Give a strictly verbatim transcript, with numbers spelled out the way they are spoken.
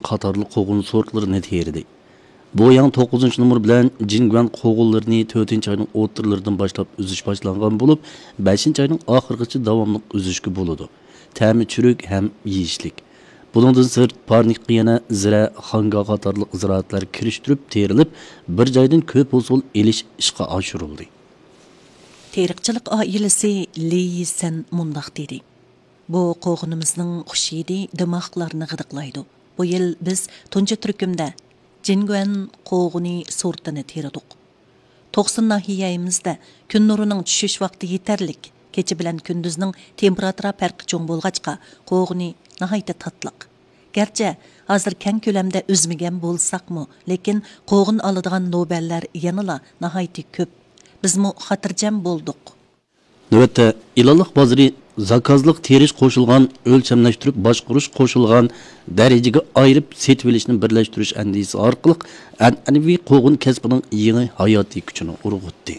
قاتارلىق قوغۇن سورتلىرىنى تېرىدى. بوياڭ توققۇزىنچى نومۇر بىلەن جىنگۈەن قوغۇنلىرىنى تۆتىنچى ئاينىڭ ئوتتۇرىلىرىدىن باشلاپ ئۈزۈش باشلانغان بولۇپ، بەشىنچى ئاينىڭ ئاخىرىغىچە داۋاملىق ئۈزۈشكە بولىدۇ. تەمى چۈرۈك ھەم يېيىشلىك. بۇنىڭدىن سىرت، پارنىكقا يەنە زىرە، خاڭگا قاتارلىق زىرائەتلەر كىرىشتۈرۈپ تېرىلىپ، بىر جايدىن كۆپ ھوسۇل ئېلىش ئىشقا ئاشۇرۇلدى. تېرىقچىلىق ئائىلىسى لى يىسەن مۇنداق دېدى: بۇ قوغۇنىمىزنىڭ خۇش ھىدى دىماغلارنى غىدىقلايدۇ. بۇ يىل بىز تۇنجى تۈركۈمدە جىنگۈەن قوغۇنى سورتىنى تېرىدۇق. توقسۇن ناھىيەمىزدە كۈن نۇرىنىڭ چۈشۈش ۋاقتى يېتەرلىك، كېچە بىلەن كۈندۈزنىڭ تېمپېراتۇرا پەرقى چوڭ بولغاچقا، قوغۇنى ناھايىتى تاتلىق. گەرچە ھازىر كەڭ كۆلەمدە ئۈزمىگەن بولساقمۇ، لېكىن قوغۇن ئالىدىغان نوبەللەر يەنىلا ناھايىتى كۆپ. بىزمۇ خاتىرجەم بولدۇق. نۆۋەتتە، ئېلانلىق بازىرى زاكازلىق تېرىش قوشۇلغان، ئۆلچەملەشتۈرۈپ باشقۇرۇش قوشۇلغان، دەرىجىگە ئايرىپ سېتىۋېلىشنى بىرلەشتۈرۈش ئەندىزىسى ئارقىلىق ئەنئەنىۋى قوغۇن كەسپىنىڭ يېڭى ھاياتىي كۈچىنى ئۇرغۇتتى.